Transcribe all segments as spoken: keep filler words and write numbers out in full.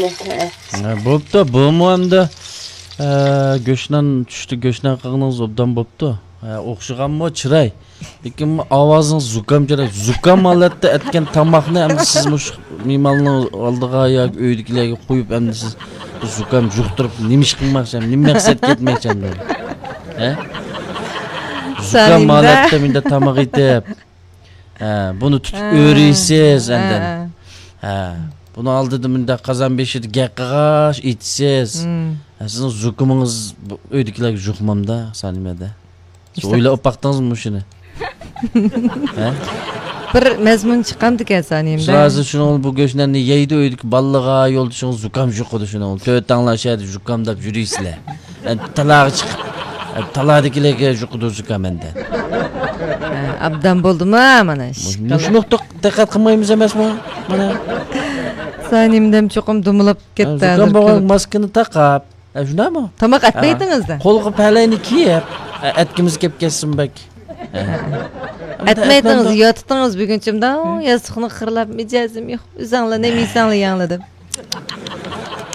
ھە، بوپتۇ، بۇمۇ ئەمدى، ئە، گۆشنان چۈشتى، گۆشنان قىلغىنىڭىز ئوبدان بوپتۇ. ھە، ئوخشىغانمۇ چىراي؟ لېكىن ئاۋازىڭىز زۇكام چىراي. زۇكام ھالەتتە ئەتكەن تاماقنى ئەمدى سىز مۇشۇ مېھماننىڭ ئالدىغا ياكى ئۆيدىكىلەرگە قويۇپ، ئەمدى سىز بۇ زۇكام يۇقتۇرۇپ، نېمە ئىش قىلماقچى، نېمە مەقسەتكە يەتمەكچى ئەمدى؟ ھە؟ زۇكام ھالەتتە مۇنداق تاماق ئېتىپ، ھە، بۇنى تۇتۇپ ئۆرۈيسىز ئاندىن. ھە. ھە. بۇنىڭ ئالدىدا مۇنداق قازان بېشىدا گەپ قىلغاچ ئېيتىسىز. ھە، سىزنىڭ زۇكىمىڭىز بۇ ئۆيدىكىلەرگە يۇقمامدا، سانىمەدە. سىز ئويلاپ باقتىڭىزمۇ شۇنى؟ ھە؟ بىر مەزمۇن چىقامدىكەن سانىمدا. سىز ھازىر شۇنىڭ بۇ گۆشناننى يەيدۇ، ئۆيدىكى بالىلىغا، يولدىشىڭىز زۇكام يۇقىدۇ شۇنىڭ. تۆت تاڭلار شەھەردە زۇكامداپ يۈرىسىلەر. ئەنە تالاغا چىقىپ، ئەنە تالادىكىلەرگە يۇقىدۇ زۇكام ئەندە. ھە، ئابدان بولدىمۇ مانا؟ مۇشۇ نۇقتىغا دىققەت قىلمايمىز ئەمەسمۇ؟ مانا. سانىمدەم چوقۇم دۇمىلاپ كەتتى. زۇكام بولغان ماسكىنى تاقاپ. ھە، شۇنداقمۇ؟ تاماق ئەتمەيدىڭىز-دە؟ قولغا پەلەينى كىيىپ، ئە، ئەتكىمىز كەپ كەتسۇن بەك. ھە. ئەتمەيدىڭىز، ياتتىڭىز بۈگۈنچە مۇنداق ياستۇقنى قىرلاپ، مىجەزىم يوق. ئۆزەڭلار نېمە يېسەڭلار يەڭلار دەپ.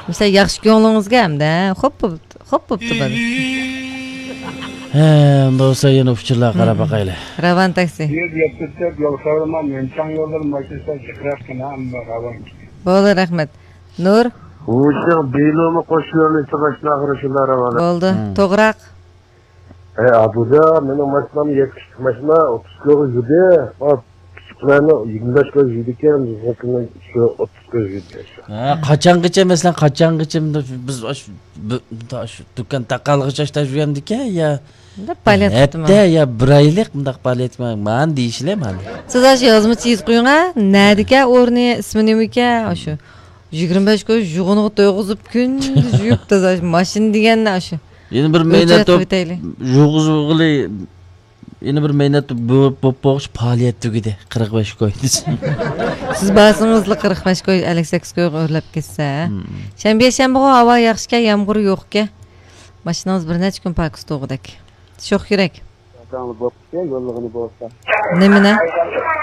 مىسال، ياخشى كۆڭلىڭىزگە ئەمدى، ھە؟ خوپ بوپتۇ، خوپ بوپتۇ بۇ. ھە، ئۇنداق بولسا يەنە ئۇچۇرلارغا قاراپ باقايلى. راۋان تاكسى. يۈز يەتمىش تۆت يول خەۋىرىما، مۆنچاڭ يوللىرى ماشىنىسى جىقراق كىنا، ئەمما راۋان. بولدى، رەھمەت. نۇر. ۋۇشىڭ بىلۇمۇ قوش يولنى چىقىشلارغا شۇنداق راۋان. بولدى، توغراق. ئەي ئابۇجا، مېنىڭ ماشىنام يەتكۈچلۈك ماشىنا، ئوتتۇز كىلوغا يۈردى. كىچىكلەرنىڭ يىگىرمە بەش كىلو يۈرىدىكەن، بىزنىڭكىنىڭ شۇ ئوتتۇز كىلو يۈردى. ھە، قاچانغىچە، مەسىلەن، قاچانغىچە بىز ئاشۇ، بۇ، شۇ دۇكان تاقالغىچە ئاشتا يۈرەمدىكەن يا؟ پائالىيەت قىپتىما؟ ھەپتە يا بىر ئايلىق مۇنداق پائالىيەت قىپتىما دېيىشلەر مانا. سىز ئاشۇ يازمىچە يېزىپ قويۇڭ ھە، نەدىكەن ئورنى، ئىسمى نېمىكەن، ئاشۇ. يىگىرمە بەش كوي يۇغىنىغا تويغۇزۇپ كۈندۈز يۇيۇپ تازا ماشىنا دېگەننى ئاشۇ. يەنە بىر مەينەت توپ يۇغۇزغىلى، يەنە بىر مەينەت بولۇپ بولغۇچ پائالىيەت تۈگىدى. قىرىق بەش كوي دېسە. سىز بارسىڭىزلا قىرىق بەش كوي، ئەللىك سەككىز كويغا ئۆرلەپ كەتسە. شەنبە، يەشەنبىغۇ ھاۋا ياخشىكەن، يامغۇر يوقكەن. ماشىنىڭىز بىر نەچچە كۈن پاكىز تۇرغۇدەك. شوخ يۈرەك. ئاكاڭلار بوپتۇ، يوللىغىنى بولسا. نېمىنى؟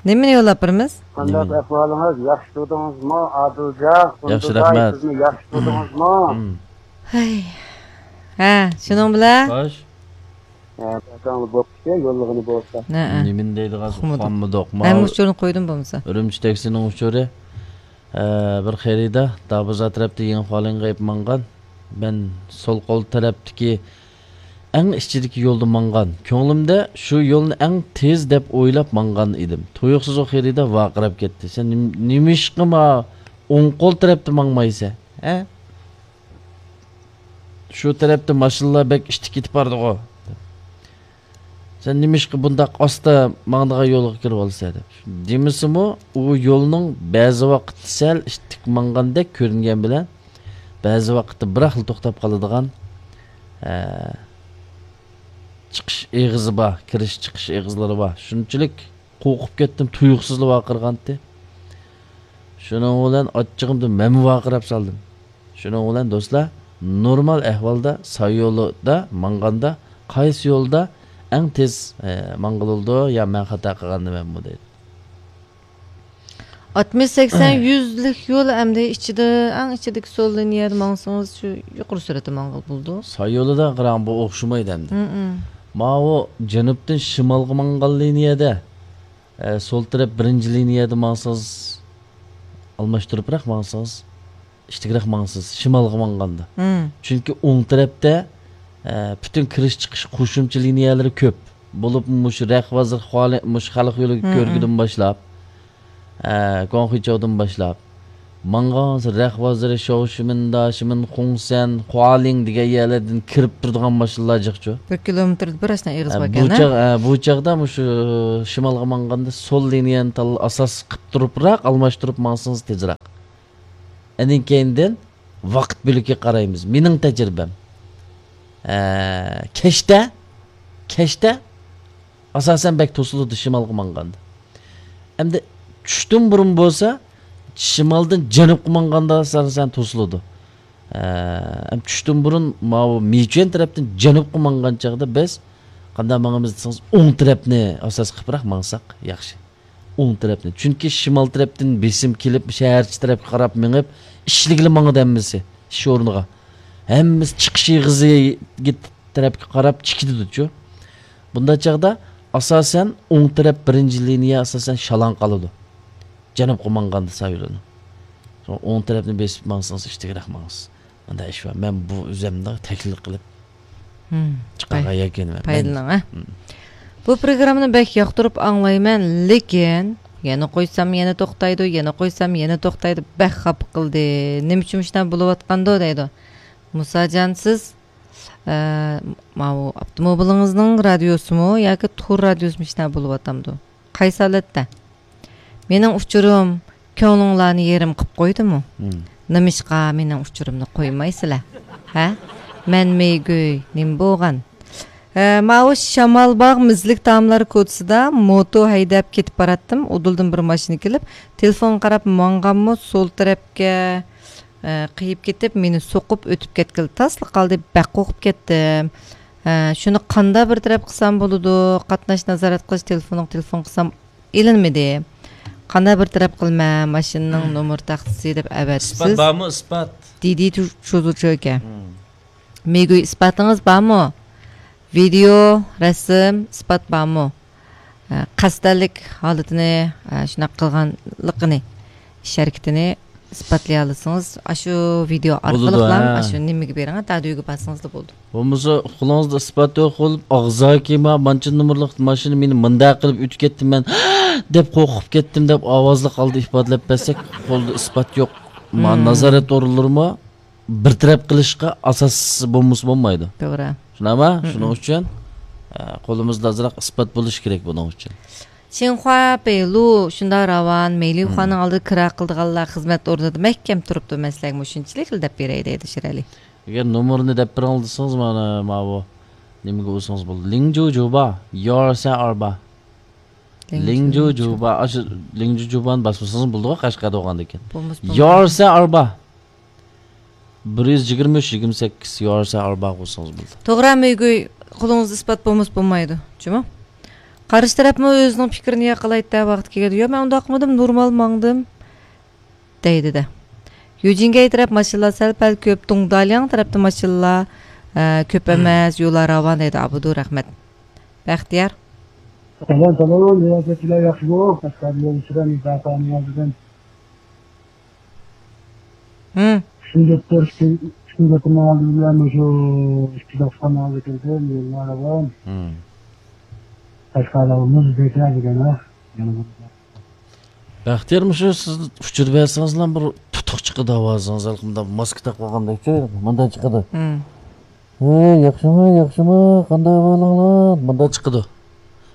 نېمىنى يوللاپ بېرىمىز؟ قانداق ئەھۋالىڭىز؟ ياخشى تۇردىڭىزمۇ، ئادىلجان؟ ياخشى، رەھمەت. سىزمۇ ياخشى تۇردىڭىزمۇ؟ ھەي. ھە، شۇنىڭ بىلەن؟ خوش. ھە، ئاكاڭلار بوپتۇ، يوللىغىنى بولسا. نېمىنى دەيدىغان ئۇقمىدۇق. مەن ئۇچۇرنى قويدۇم بولمىسا. ئۈرۈمچى تەكسىنىڭ ئۇچۇرى. ئە، بىر خېرىدار دابىزا تەرەپتە يېڭى فالىڭغا ئېلىپ ماڭغان. مەن سول قول تەرەپتىكى ئەڭ ئىچىدىكى يولدا ماڭغان. كۆڭلۈمدە شۇ يولنى ئەڭ تېز دەپ ئويلاپ ماڭغان ئىدىم. تۇيۇقسىز ئۇ خېرىدار ۋارقىراپ كەتتى. سەن نېم-، نېمىشقا ما ئوڭ قول تەرەپتە ماڭمايسەن؟ ھە؟ شۇ تەرەپتە ماشىنىلار بەك ئىتتىك كېتىپ بارىدىغۇ. سەن نېمىشقا بۇنداق ئاستا ماڭىدىغان يولغا كىرىۋالىسەن دەپ. دېمىسىمۇ، ئۇ يولنىڭ بەزى ۋاقىتتا سەل ئىتتىك ماڭغاندەك كۆرۈنگەن بىلەن، بەزى ۋاقىتتا بىراقلا توختاپ قالىدىغان، ئە، چىقىش ئېغىزى بار، كىرىش چىقىش ئېغىزلىرى بار. شۇنچىلىك قورقۇپ كەتتىم، تۇيۇقسىزلا ۋارقىرىغانتى. شۇنىڭ بىلەن ئاچچىقىمدىن مەنمۇ ۋارقىراپ سالدىم. شۇنىڭ بىلەن دوستلار، نورمال ئەھۋالدا ساييولدا ماڭغاندا قايسى يولدا ئەڭ تېز، ئە، ماڭغىلى بولىدۇ يا مەن خاتا قىلغاندىمەنمۇ دەيدۇ. ئاتمىش، سەكسەن، يۈزلۈك يول ئەمدى ئىچىدە، ئەڭ ئىچىدىكى سول لىنىيەدە ماڭسىڭىز، شۇ يۇقىرى سۈرئەتتە ماڭغىلى بولىدۇ. ساييولىدا قاراڭ، بۇ ئوخشىمايدۇ ئەمدى. ماۋۇ جەنۇبتىن شىمالغا ماڭغان لىنىيەدە، ئە، سول تەرەپ بىرىنچى لىنىيەدە ماڭسىڭىز، ئالماشتۇرۇپراق ماڭسىڭىز، ئىتتىكرەك ماڭىسىز، شىمالغا ماڭغاندا. چۈنكى ئوڭ تەرەپتە، ئە، پۈتۈن كىرىش چىقىش قوشۇمچە لىنىيەلىرى كۆپ. بولۇپ مۇشۇ رەخ بازىرى، مۇشۇ خەلق يولى كۆرگۈدىن باشلاپ، ئە، گۇاڭخۇيچاۋدىن باشلاپ، ماڭغانسېرى رەخ بازىرى، شاۋشىمىندا، شىمىنخۇڭسەن، خۇالىڭ دېگەن يەرلەردىن كىرىپ تۇرىدىغان ماشىنىلار جىقچۇ. بىر كىلومېتىردا بىر ئاشۇنداق ئېغىز باركەن، ھە؟ بۇ چاغ، ھە، بۇ چاغدا مۇشۇ شىمالغا ماڭغاندا سول لىنىيەنى تاللا-، ئاساس قىلىپ تۇرۇپراق ئالماشتۇرۇپ ماڭسىڭىز تېزراق. ئاندىن كېيىندىن ۋاقىت بۆلىكىگە قارايمىز. مېنىڭ تەجرىبەم. ئە، كەچتە، كەچتە ئاساسەن بەك توسۇلىدۇ شىمالغا ماڭغاندا. ئەمدى چۈشتىن بۇرۇن بولسا، شىمالدىن جەنۇبقا ماڭغاندا ئاساسەن توسۇلىدۇ. ئە، ئەم چۈشتىن بۇرۇن ماۋۇ مىچۈەن تەرەپتىن جەنۇبقا ماڭغان چاغدا بىز قانداق ماڭىمىز دېسىڭىز، ئوڭ تەرەپنى ئاساس قىلىپراق ماڭساق ياخشى. ئوڭ تەرەپنى. چۈنكى شىمال تەرەپتىن بېسىم كېلىپ، شەھەرچە تەرەپكە قاراپ مېڭىپ، ئىشلىگىلى ماڭىدۇ ھەممىسى ئىش ئورنىغا. ھەممىسى چىقىش ئېغىزىگە تەرەپكە قاراپ چىقىدۇچۇ. بۇنداق چاغدا ئاساسەن ئوڭ تەرەپ بىرىنچى لىنىيە ئاساسەن شالاڭ قالىدۇ. جەنۇبقا ماڭغاندا سايلىنىڭ. سوڭ ئوڭ تەرەپنى بېسىپ ماڭسىڭىز ئىشتىكرەك ماڭىسىز. مۇنداق ئىش بار. مەن بۇ ئۆزۈمنى تەكلىپ قىلىپ چىقارغان يەكۈنىمەن. پايدىلىنىڭ، ھە؟ بۇ پروگراممىنى بەك ياقتۇرۇپ ئاڭلايمەن، لېكىن يەنە قويسام يەنە توختايدۇ، يەنە قويسام يەنە توختايدۇ، بەك خاپا قىلدى. نېمە ئۈچۈن مۇشۇنداق بولۇۋاتقاندۇ دەيدۇ. مۇساجان، سىز، ئە، ماۋۇ ئاپتوموبىلىڭىزنىڭ رادىيوسىمۇ ياكى تور رادىيوسىمۇ شۇنداق بولۇۋاتامدۇ؟ قايسى ھالەتتە؟ مېنىڭ ئۇچۇرۇم كۆڭلۈڭلارنى يېرىم قىپ قويدىمۇ؟ نېمىشقا مېنىڭ ئۇچۇرۇمنى قويمايسىلەر؟ ھە؟ مەن مېيگۈي، نېمە بولغان؟ ھە، ماۋۇ شامالباغ مىزلىك تاملار كوچىسىدا موتو ھەيدەپ كېتىپ باراتتىم. ئۇدۇلدىن بىر ماشىنا كېلىپ، تېلېفونغا قاراپ ماڭغانمۇ سول تەرەپكە، ئە، قېيىپ كېتىپ، مېنى سوقۇپ ئۆتۈپ كەتكىلى تاسلا قالدى. بەك قورقۇپ كەتتىم. ئە، شۇنى قانداق بىر تەرەپ قىلسام بولىدۇ؟ قاتناش نازارەت قىلىش تېلېفونىغا تېلېفون قىلسام ئېلىنمىدى. قانداق بىر تەرەپ قىلىمەن؟ ماشىنىنىڭ نومۇر تاختىسى دەپ ئەۋەتىسىز. ئىسپات بارمۇ، ئىسپات؟ دىدى چۇزۇچۇ ئىكەن. مېگۈي، ئىسپاتىڭىز بارمۇ؟ ۋىدېئو، رەسىم، ئىسپات بارمۇ؟ ئە، قەستەنلىك ھالىتىنى، ئە، شۇنداق قىلغانلىقىنى، ئىش ھەرىكىتىنى ئىسپاتلىيالىسىڭىز، ئاشۇ ۋىدېئو ئارقىلىقلا، ھە، ئاشۇ نېمىگە بېرىڭ، دادۈيگە بارسىڭىزلا بولىدۇ. بولمىسا، قولىڭىزدا ئىسپات يوق بولۇپ، ئاغزاكى ما-، مانچە نومۇرلۇق ماشىنا مېنى مۇنداق قىلىپ ئۆتۈپ كەتتى، مەن دەپ قورقۇپ كەتتىم دەپ ئاۋازلىق ھالدا ئىپادىلەپ بەرسەك، قولدا ئىسپات يوق. ما-، نازارەت ئورۇنلىرىمۇ بىر تەرەپ قىلىشقا ئاساس بولمىسا بولمايدۇ. توغرا. شۇنداقمۇ؟ شۇنىڭ ئۈچۈن، ئە، قولىمىزدا ئازراق ئىسپات بولۇشى كېرەك بۇنىڭ ئۈچۈن. شىنخۇا پېيلۇ شۇنداق راۋان، مېيلىخۇانىڭ ئالدىدا كىرا قىلىدىغانلار خىزمەت ئورنىدا مەھكەم تۇرۇپتۇ، مەن سىلەرگىمۇ شۇنچىلىكلا دەپ بېرەي دەيدۇ شىرئەلى. ئەگەر نومۇرنى دەپ بېرىڭ دېسىڭىز، مانا ماۋۇ نېمىگە ئۇرسىڭىز بولىدۇ. لىڭجۇ جۇبا، يارسە ئاربا. لىڭجۇ جۇبا، ئاشۇ لىڭجۇ جۇبانى باسمىسىڭىز بولىدىغۇ، قەشقەردە بولغاندىكىن. بولمىسا بولمايدۇ. يارسە ئاربا. بىر يۈز يىگىرمە ئۈچ، يىگىرمە سەككىز يارسە ئاربا قويسىڭىز بولىدۇ. توغرا، مۆگۈي، قولىڭىزدا ئىسپات بولمىسا بولمايدۇ، جۇمۇ. قارشى تەرەپمۇ ئۆزىنىڭ پىكرىنى ياقىلايتتى، ۋاقتى كەلگەندە، ياق، مەن ئۇنداق قىلمىدىم، نورمال ماڭدىم، دەيدۇ-دە. يۈجىنگەي تەرەپ ماشىنىلار سەل-پەل كۆپ، دۇڭدالياڭ تەرەپتە ماشىنىلار، ئە، كۆپ ئەمەس، يوللار راۋان، دەيدۇ. ئابدۇ، رەھمەت. بەختىيار. سالام، سالام، رىياسەتچىلەر ياخشىمۇ؟ قەشقەر يولچىلار، مۇساپىرىڭىزدىن. ھىم. ئۈچىنچى تور، ئۈچىنچى تورنىڭ ئالدىدا مۇشۇ ئىككى توقسان ئالدى كىردى، يوللار راۋان. ھىم. قەشقەرلەر مۇز بېكەر دېگەن، ھە؟ بەختىيار، مۇشۇ سىز ئۇچۇر بەرسىڭىزلا بىر تۇتۇق چىقىدۇ ئاۋازىڭىز، ھېلىقى مۇنداق ماسكا تاقىپ قالغاندەك، مۇنداق چىقىدۇ. ھىم. ھەي، ياخشىمۇ، ياخشىمۇ، قانداق ئەھۋالىڭلار؟ مۇنداق چىقىدۇ.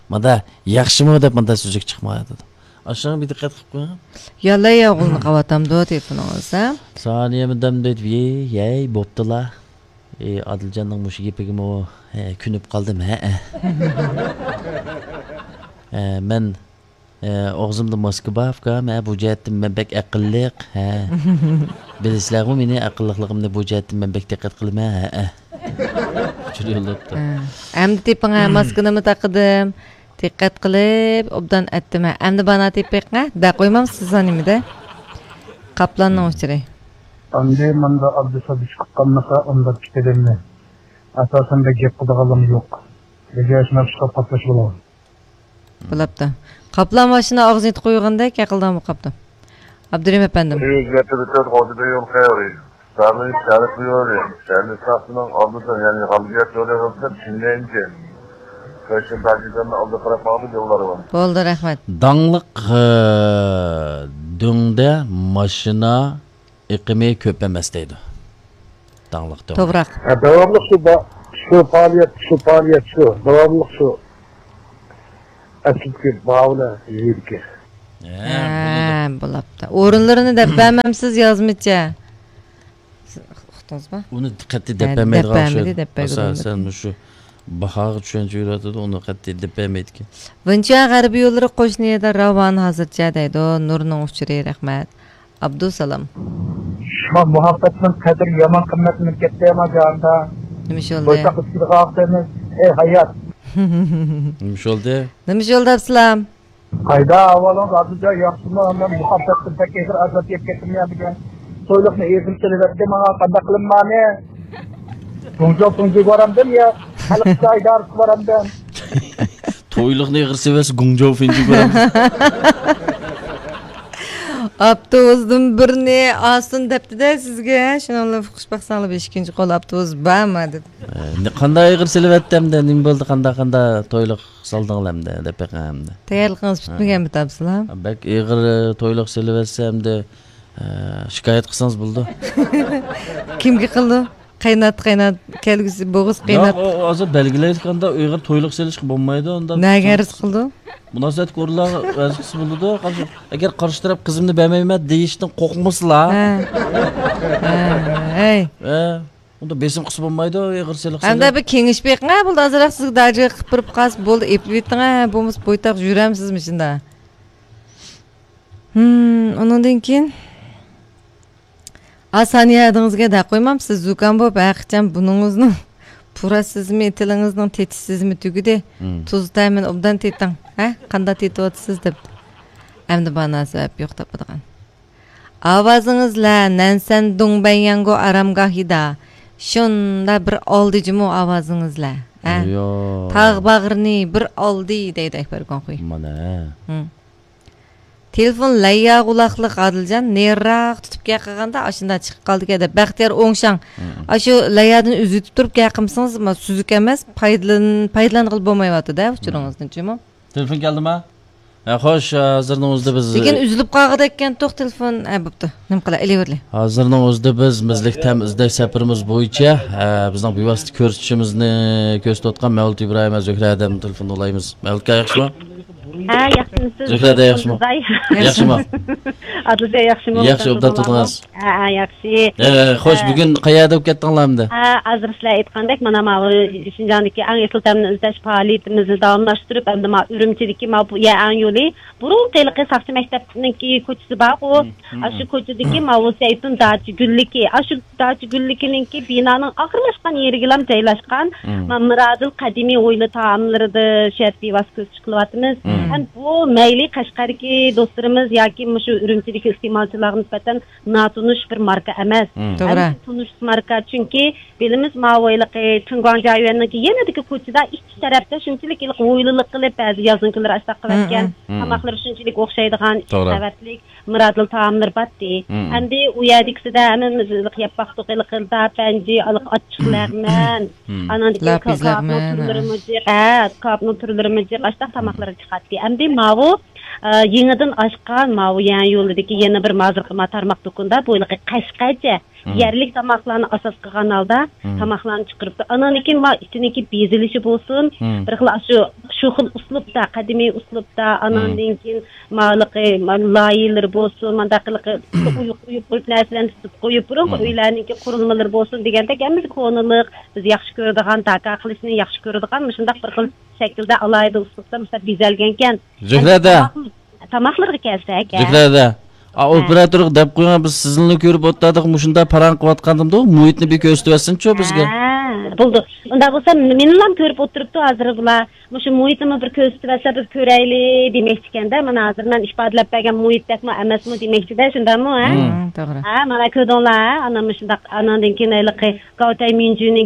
مۇنداق، ياخشىمۇ دەپ مۇنداق سۆزلۈك چىقمايدۇ. ئاشۇڭا بىر دىققەت قىلىپ قويۇڭ. يالاي ياغۇلنى قاۋاتامدۇ تېلېفونىڭىزدا؟ سانىيەمۇ دەم دەيدۇ، ھەي، ھەي، بوپتۇلا. ئى، ئادىلجاننىڭ مۇشۇ گېپىگىمۇ، ھە، كۆنۈپ قالدىم، ھە. ھە، مەن ئە، ئاغزىمدا ماسكا بار، ئۇكام، ھە، بۇ جەھەتتىن مەن بەك ئەقىللىق، ھە. بىلىسىلەرغۇ مېنى ئەقىللىقلىقىمنى، بۇ جەھەتتىن مەن بەك دىققەت قىلىمەن، ھە، ھە. ئۇچۇر يوللاپتۇ. ھە. ئەمدى تېپىڭ، ھە، ماسكىنىمۇ تاقىدىم. دىققەت قىلىپ، ئوبدان ئەتتىم، ھە. ئەمدى بانا تېپىق، ھە. دە قويمامسىز نېمىدە؟ قاپلاننىڭ ئۇچۇرى. ئەمدى ماندا ئابدۇسابىت چىقىپ قالمىسا، ئۇنداپ كېتىدىممەن. ئاساسەن بەك گەپ قىلىدىغانلىرىم يوق. بىزگە شۇنداق چىقىپ قاپلاشىۋالىڭ. بولاپتۇ. قاپلان ماشىنا ئاغزىنى يېتىپ قويغاندەك ھەقىلدىڭمۇ قاپتۇ. ئابدۇرېھىم ئەپەندىم. يۈز مەتتە ئۆتۈپ، غوجىدا يول قېرى. سامى شەرقىي يولى، شەرقىي ساقچىنىڭ ئالدىدا، يەنى غەلىبىيەت يولى بولسا چىڭلەنچى. قېشىم تاجىكىستاننىڭ ئالدىغا قاراپ ماڭىدۇ يوللار بار. بولدى، رەھمەت. داڭلىق، ئە، دۆڭدە ماشىنا ئېقىمى كۆپ ئەمەس دەيدۇ. داڭلىق دۆڭ. توغرا. ھە، داۋاملىق شۇ با-، شۇ پائالىيەت، شۇ پائالىيەت شۇ. داۋاملىق شۇ. ئەسلىدىكى باھا بىلەن يېرىدىكى. ھە، ھە، بولىدۇ. بولاپتۇ. ئورۇنلىرىنى دەپ بەرمەمسىز يازمىچە. سىز ئۇقتىڭىزمۇ؟ ئۇنى قەتئىي دەپ ھە، بەرمەيدىغان دەپ بەرمىدى، ئوخشايدۇ. دەپ بەرگىلى ئاساسەن بولمىدى. مۇشۇ باھاغا چۈشەنچە يۈرۈۋاتىدۇ، ئۇنى قەتئىي دەپ بەرمەيدىكەن. ۋېنچۇەن غەربىي يوللىرى قوشنا يەردە راۋان ھازىرچە دەيدۇ. نۇرنىڭ ئۇچۇرى، رەھمەت. ئابدۇسالام. شۇڭا مۇھەببەتنىڭ قەدرى يامان قىممەتلىنىپ كەتتى ئەمما جاھاندا. نېمە ئىش بولدى؟ بويتاققا چىقىدىغان ۋاقتىمىز، ئەي ھايات. نېمە ئىش بولدى؟ نېمە ئىش بولدى، ئابدۇسالام؟ قايدا ئەھۋالىڭىز، ئادىلجان، ياخشىمۇ؟ مەن مۇھەببەتتىن بەك ئېغىر ئازاب يەپ كەتتىم يا بۈگۈن. تويلۇقنى ئېغىر سېلىۋەتتى ماڭا، قانداق قىلىممانى؟ گۇڭجو فېنجۈگە بارامدىم يا خەلق ئىشلار ئىدارىسىگە بارامدىم؟ تويلۇقنى ئېغىر سېلىۋەتسە گۇڭجو فېنجۈگە بارامدىم. ئاپتوبۇستىن بىرنى ئالسۇن دەپتىدە سىزگە، شۇنىڭ بىلەن ئۇقۇش باقساڭلار، بەش ئىككىنچى قول ئاپتوبۇس بارما دېدى. ئە، قانداق ئېغىر سېلىۋەتتى ئەمدى؟ نېمە بولدى؟ قانداق، قانداق تويلۇق سالدىڭلار ئەمدى دەپ بېقىڭ ئەمدى. تەييارلىقىڭىز پۈتمىگەنمۇ تاپسىلا؟ بەك ئېغىر تويلۇق سېلىۋەتسە ئەمدى، ئە، شىكايەت قىلسىڭىز بولىدۇ. كىمگە قىلىدۇ؟ قاينات، قاينات، كەلگۈسى بوغۇز قاينات. ياق، ئۇ ھازىر بەلگىلەيدىكەندە ئېغىر تويلۇق سېلىشقا بولمايدۇ ئۇنداق. نەگە ئەرز قىلىدۇ؟ مۇناسىۋەتلىك ئورۇنلارغا ئەرز قىلسا بولىدۇ. ئەگەر قارشى تەرەپ قىزىمنى بەرمەيمەن دېيىشتىن قورقمىسىلا. ھە. ھە، ھەي. ھە. ئۇندا بېسىم قىلسا بولمايدۇ، ئېغىر سېلىق. ئەمدى بىر كېڭىش بېقىڭ، ھە، بولدى، ئازراق سىزگە داجىغا قىلىپ بېرىپ قالسا بولدى، ئېپىۋېتىڭ، ھە، بولمىسا بويتاق يۈرەمسىز مۇشۇنداق. ھىم، ئۇنىڭدىن كېيىن، ئا، سانىيە ھەدىڭىزگە دەپ قويمامسىز، زۇكام بولۇپ، ھەقىچان بۇنىڭىزنىڭ پۇراش سېزىمى، تىلىڭىزنىڭ تېتىش سېزىمى تۈگىدى. ھىم. تۇز تەمىنى ئوبدان تېتىڭ، ھە، قانداق تېتىۋاتىسىز دەپتۇ. ئەمدى بار ناسىۋەب يوق تاپىدىغان. ئاۋازىڭىزلە نەنسەن دۇڭبەنياڭگو ئارامگاھىدا شۇنداق بىر ئالدى جۇمۇ ئاۋازىڭىزلە، ھە؟ يا. تاغ باغرىنى بىر ئالدى دەيدۇ ئەكبەر گۇاڭخۇي. مانا، ھە. ھىم. تېلېفون لەييا قۇلاقلىق ئادىلجان نېرىراق تۇتۇپ گەپ قىلغاندا ئاشۇنداق چىقىپ قالىدىكەن دەپ بەختىيار ئوڭشاڭ. ھىم. ئاشۇ لەييادىن ئۈزۈۋېتىپ تۇرۇپ گەپ قىلمىسىڭىز ما سۈزۈك ئەمەس، پايدىلان-، پايدىلانغىلى بولمايۋاتىدۇ-دە ئۇچۇرىڭىزدىن جۇمۇ. تېلېفون كەلدىما؟ ھە، خوش، ھازىرنىڭ ئۆزىدە بىز لېكىن ئۈزۈلۈپ قالغۇدەككەنتۇق تېلېفون. ھە، بوپتۇ. نېمە قىلاي، ئېلىۋېرىلى. ھازىرنىڭ ئۆزىدە بىز مىزلىق تەم ئىزدەش سەپىرىمىز بويىچە، ئە، بىزنىڭ بىۋاسىتە كۆرسىتىشىمىزنى كۆرسىتىۋاتقان مەۋلۇت ئىبراھىم ۋە زۆھرە ھەدەمنى تېلېفوندا ئالايمىز. مەۋلۇت ئاكا، ياخشىمۇ؟ ھە، ياخشىمۇسىز؟ زۆھرە ھەدە ياخشىمۇ؟ ياخشىمۇ؟ ئادىلجان ياخشىمۇ؟ ياخشى، ئوبدان تۇردىڭىز. ھە، ھە، ياخشى. ھە، خوش، ھە. بۈگۈن قەيەردە بولۇپ كەتتىڭلار ئەمدى؟ ھە، ھازىر سىلەر ئېيتقاندەك، مانا ماۋۇ شىنجاڭدىكى ئەڭ ئېسىل تەمنى ئىزدەش پائالىيىتىمىزنى داۋاملاشتۇرۇپ، ئەمدى ماۋۇ ئۈرۈمچىدىكى ماۋۇ يەر ئەڭ يولى، بۇرۇنقى ھېلىقى ساقچى مەكتەپنىڭكى كوچىسى بارغۇ، مم، مم. ئاشۇ كوچىدىكى ماۋۇ زەيتۇن داچا گۈللۈكى، ئاشۇ داچا گۈللۈكىنىڭكى بىنانىڭ ئاخىرلاشقان يېرىگىلا جايلاشقان، مم. ما-، مىرادىل قەدىمىي ھويلا تائاملىرىدا شۇ يەردە بىۋاسىتە كۆز قىلىۋاتىمىز. مم. ھەم بۇ مەيلى قەشقەردىكى دوستلىرىمىز ياكى مۇشۇ ئۈرۈمچىدىكى ئىستېمالچىلارغا نىسبەتەن ناتونۇش بىر ماركا ئەمەس. مم. توغرا. ھەم تونۇش ماركا، چۈنكى بىلىمىز، ماۋۇ ھېلىقى چىڭگۇاڭ جيايۈەننىڭكى يېنىدىكى كوچىدا ئىچ تەرەپتە شۇنچىلىك ھېلىقى ھويلىلىق قىلىپ، بەزى يازنىڭ كۈنلىرى ئاشتاق قىلىۋەتكەن. مم، مم. تاماقلىرى شۇنچىلىك ئوخشايدىغان، ئىچ توغرا. قەۋەتلىك مىرادىل تائاملىرى باتتى. مم. ئەمدى ئۇ يەردىكىسىدە ھەممىمىز ھېلىقى يەپ باقتۇق، ھېلىقى داپ، پەنجى، ھېلىقى ئاچچىق لەغمەن. مم. ئانان كېيىن لاپىز كاۋاپنىڭ لەغمەن. تۈرلىرىمۇ جىق، ھە، كاۋاپنىڭ تۈرلىرىمۇ جىق، ئاشتاق تاماقلىرى چىقاتتى. ئەمدى ماۋۇ، ئە، يېڭىدىن ئاچقان ماۋۇ يەنئەن يولىدىكى يەنە بىر ھازىرقى ما تارماق دۇكىنىدا بۇ ھېلىقى قەشقەرچە مم. يەرلىك تاماقلارنى ئاساس قىلغان ھالدا مم. تاماقلارنى چىقىرىپتۇ. ئانان كېيىن ما ئىچىنىڭكى بېزىلىشى بولسۇن، مم. بىر خىل ئاشۇ، شۇ خىل ئۇسلۇبتا، قەدىمىي ئۇسلۇبتا، ئانان مم. كېيىن ما ھېلىقى، ما لايىھەلىرى بولسۇن، مانداق ھېلىقى ئويۇق، ئويۇق، ئويۇق نەرسىلەرنى تۇتۇپ قويۇپ، بۇرۇنقى مم. ئۆيلەرنىڭكى قۇرۇلمىلىرى بولسۇن دېگەندەك، ھەممىسى كونىلىق، بىز ياخشى كۆرىدىغان، داكا قىلىشنى ياخشى كۆرىدىغان مۇشۇنداق بىر خىل شەكىلدە ئالاھىدە ئۇسلۇبتا مۇشۇنداق بېزەلگەنكەن. زۆھرەدە. تاماقلىرىغا كەلسەك، ھە. زۆھرەدە. ئا، ھە. ئوپېراتورغا دەپ قويۇڭ، بىز سىزنىلا كۆرۈپ ئولتۇردۇق، مۇشۇنداق پاراڭ قىلىۋاتقاندىمۇ، مۇھىتنى بىر كۆرسىتىۋەتسىنچۇ بىزگە. ھە، بولدى. ئۇنداق بولسا، مېنىلا كۆرۈپ ئولتۇرۇپتۇ ھازىر بۇلار. مۇشۇ مۇھىتنىمۇ بىر كۆرسىتىۋەتسە، بىز كۆرەيلى دېمەكچىكەندە. مانا ھازىر مەن ئىپادىلەپ بەرگەن مۇھىتتەكمۇ ئەمەسمۇ دېمەكچىدە، شۇنداقمۇ، ھە؟ مم. ھە، توغرا. ھە، مانا كۆردۈڭلار، ھە؟ ئانا مۇشۇنداق، ئاناندىن كېيىن ھېلىقى گاۋتەي مىنجۈنىڭ